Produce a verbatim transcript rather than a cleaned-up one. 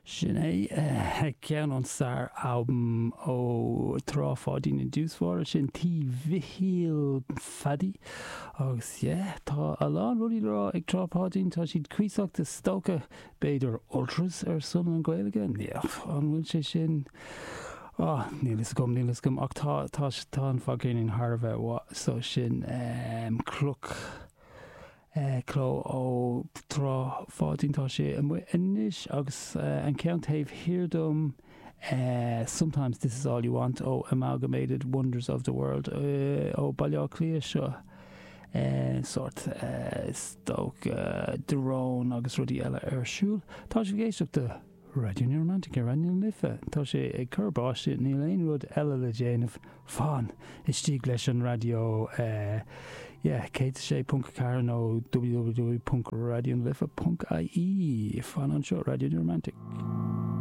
Sin é ceann ón sár-albam ó Trá Pháidín i dtús báire sin Tí Mhichíl Phaddy agus yeah, tá a lán rudaí le rá ag Trá Pháidín tá siad cuíosach is dócha b'fhéidir ultras ar son an Ghaeilge an bhfuil sé sin Oh, níl a fhios agam níl a fhios agam ach tá tá tá an fadcheirnín thar a bheith mhaith so sin um, cloch eh, cló ó Trá Pháidín tá sé amuigh anois agus uh, an ceann taobh thiar dom uh, Sometimes This Is All You Want ó Amalgamated Wonders of the World uh, ó Baile Átha Cliath seo. Uh, sort uh, stoc uh, drón agus rudaí eile ar siúl. Tá sibh ag éisteacht le Raidió New Romantic ar Raidió na Life. Tá sé ag cur báistí níl aon rud eile le déanamh fan istigh leis an raidió uh, yeah, céad sé ponc ceathair nó www.radionalife.ie fan anseo Raidió New Romantic.